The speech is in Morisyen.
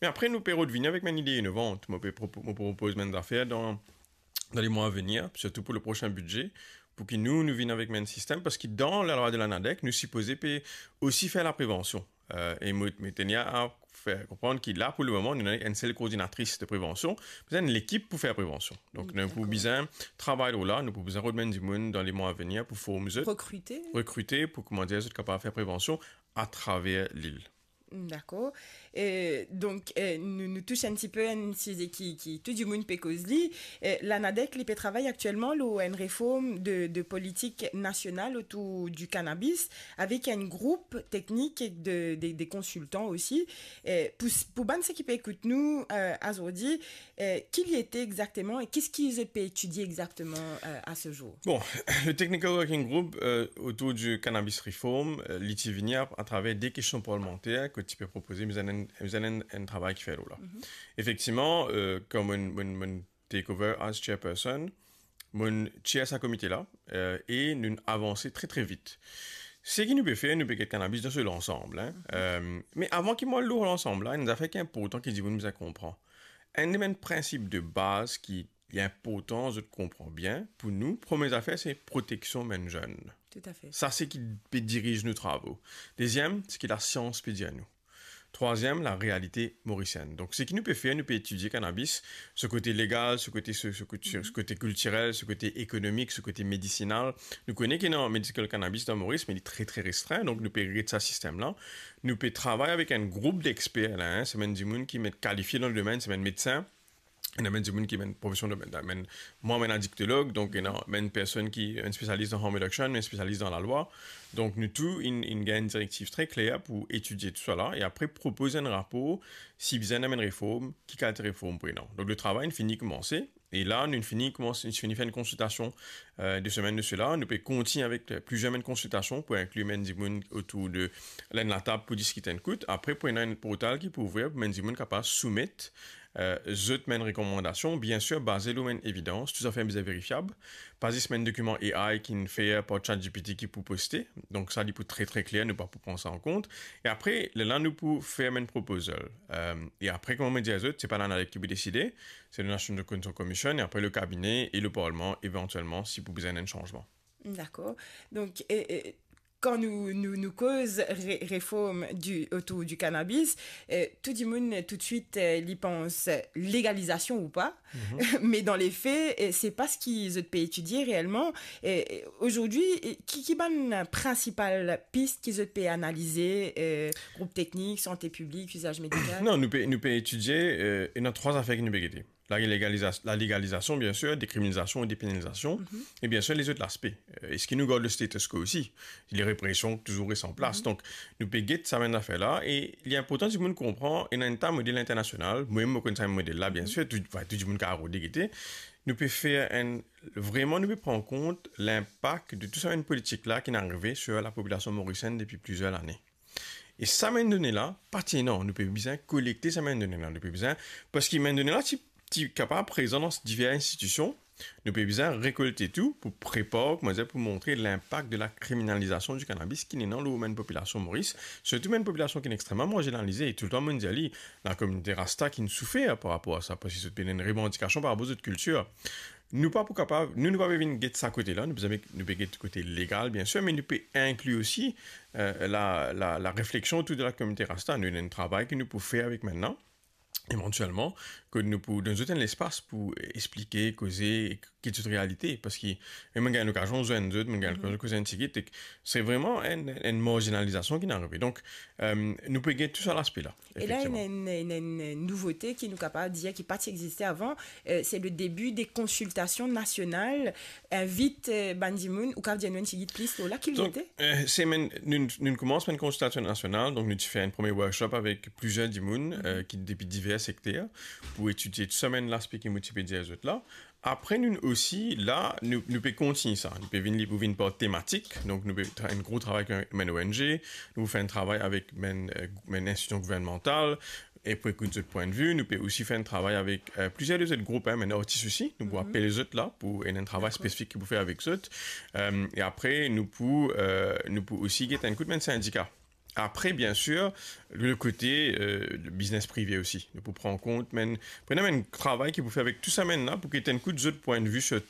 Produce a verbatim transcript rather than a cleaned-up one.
Me apre, nou pe revini avek bann ide inovan. Mo pe propo-, mo propoz bann zafer dan, dan lemwa avenir, sirtou pou le prosin bidze, pou ki nou, nou vinn avek bann sistem, parski dan lalwa de la NADEC, nou sipoze pe osi fer laprevansion. Euh, e mo, mo teni a fer konprann ki la, pou le moman, nou ena enn sel koordinatris de prevansion, bizin enn lekip pou fer prevansion. Donk, nou pou bizin travay lor la, nou pou bizin rod bann dimoun dan lemwa avenir pou form zot, rekrite, pou, kouma dir, zot kapav fer prevansion atraver lil. Dakor. E, donk, e, nou, nou tous enn tipe enn size ki, ki tou dimoun pe koz li. E, la NADEC, li pe travay aktielman lor enn reform de, de politik nasional otour di kanabis, avek enn group teknik ek de, de, de konsiltan osi. E, pou, pou bann seki pe ekout nou, e, azordi, e, ki li ete exakteman e ki ki zot pe etidie exakteman, e, a se zour? Bon, le Technical Working Group, euh, autour du cannabis reform, euh, li ti vini a, atraver de kestion parlimanter ki ti pe propoze, bizin enn, bizin enn, enn travay ki fer lor la. Efektivman, euh, kan mo'nn, mo'nn, mo'nn take over as chairperson, mo'nn chair sa komite la, euh, e nou avanse tre, tre vit. Seki nou pe fer, nou pe get kanabis dan so lansam, hein. Euh, me avan ki mo al lor lansam la, enn zafer ki inportan ki dimoun bizin konpran. Enn de bann prinsip de baz ki li inportan zot konpran bien, pou nou, premie zafer, se proteksion bann zenn. Toutafe. Sa, se ki pe diriz nou travo. Deziem, se ki lasians pe dir nou. Trwaziem, larealite morisienn. Donk, seki nou pe fer, nou pe etidie kanabis, so kote legal, so kote, so, so kote, so kote kiltirel, so kote ekonomik, so kote medisinal. Nou kone ki ena medical cannabis dan Moris, me li tre, tre restrin, donk nou pe ret sa sistem la. Nou pe travay avek enn group dexper la, hein, se bann dimoun ki met kalifie dan le domenn, se bann medsin, ena bann dimoun ki bann profesion de, bann, mwa, bann adiktolog, donk ena bann personn ki, bann spesialis dan harm reduction, bann spesialis dan lalwa. Donk nou tou, inn, inn gagn enn direktiv tre kler pou etidie tou sa la, e apre propoz enn rapor, si bizin ena bann reform, ki kalite reform pou ena. Donk le travay inn fini koumanse, e la, nou fini koumans, nou fini fer enn konsiltasion, euh, de semenn de sela. Nou pe kontign avek, euh, plizier bann konsiltasion pou inkli bann dimoun otour de, la, enn latab pou diskit enn kout. Apre, pou ena enn portal ki pou ouvrir, pou bann dimoun kapav soumet euh, zot bann rekomandasion, biensir, baze lor bann evidans, tou zafer bizin verifiab, pa zis bann dokiman A I ki'nn fer par ChatGPT ki pou poste. Donk sa, li pou tre, tre kler, nou pa pou pran sa an kont. E apre, lerla nou pou fer bann proposal. Euh, e apre, kouma mo dir zot, se pa la NADEC ki pou deside, se le National Consultation Commission, e apre le kabine e le parlman, evantielman, si pou bizin enn sanzman. Dakor. Donk, e, e, kan nou, nou, nou koz re-, reform di, otour di kanabis, eh, tou dimoun toutswit, eh, li pans legalizasion ou pa. Me dan lefe, eh, se pa seki zot pe etidie reelman. Eh, eh, azordi, eh, ki, ki bann prinsipal pis ki zot pe analize, eh, group teknik, sante piblik, izaz medikal? Non, nou pe, nou pe etidie, eh, ena trwa zafer ki nou pe gete. La legaliza-, la legalizasion, biensir, dekriminalizasion e depenalizasion, e biensir, lezot laspe. Euh, eski nou gard le status quo osi? Lerepresion touzour res an plas. Donk, nou pe get sa bann zafer la, e li inportan dimoun konpran, ena enn ta model internasional, mwa mem mo konn sa model la, biensir, tou, tou dimoun kapav rode gete. Nou pe fer enn, vreman nou pe pran kont linpak de tou sa bann politik la ki'nn arive sir lapopilasion morisienn depi plizier lane. E sa bann done la, pa ti ena, nou pe bizin kolekte sa bann done la, nou pe bizin, parski bann done la ti, ti kapav prezan dan diver institision, nou pe bizin rekolte tou pou prepar, kouma dir, pou montre linpak de lakriminalizasion di kanabis ki'nn ena lor bann popilasion Moris, sirtou bann popilasion ki'nn extreman marzinalize, e toultan mo'nn dir li, lakominote Rasta ki'nn soufer par rapor a sa, parski zot pena enn revandikasion par rapor zot kiltir. Nou pa pou kapav, nou, nou pa pe vinn get sa kote la, nou pe zame, nou pe get kote legal, biensir, me nou pe inkli osi, euh, la, la, larefleksion otour de lakominote Rasta. Nou ena enn travay ki nou pou fer avek bann la, evantielman, ke nou pou donn zot enn lespas pou explike, koze, e get zot realite, parski, e mo'nn gagn lokazion zwenn zot, mo'nn gagn lokazion koze enn tigit, ek se vreman enn, enn marzinalizasion ki'nn arive. Donk, euh, nou pe get tou sa laspe la. E la, efektivman, ena enn, ena enn nouvote ki nou kapav dir ki pa ti existe avan, euh, se le debi de konsiltasion nasional, invit, euh, bann dimoun, ou kapav dir nou enn tigit plis lor la, ki li ete? Donk, euh, semenn, nou, nou koumans par enn konsiltasion nasional, donk nou ti fer enn premie workshop avek plizier dimoun, euh, ki depi diver sekter, pou etidie tou sa bann laspe ki mo ti pe dir zot la. Apre, nou osi, la, nou, nou pe kontign sa. Nou pe vinn, li pou vinn par tematik. Donk, nou pe tra-, enn gro travay avek bann O N G, nou pou fer enn travay avek bann, euh, bann institision gouvernmantal, e pou ekout zot pwin de vi. Nou pe osi fer enn travay avek, euh, plizier de zot group, hein, bann artis osi. Nou pou apel zot la pou enn, enn travay spesifik ki pou fer avek zot. Euh, e apre, nou pou, euh, nou pou osi get enn kout bann sindika. Apre, bien sir, le kote, euh, biznes prive osi. Nou pou pran kont, men, pou ena enn travay ki pou fer avek tou sa, men la, pou ki to ena enn kout zot pwin de vi sur tou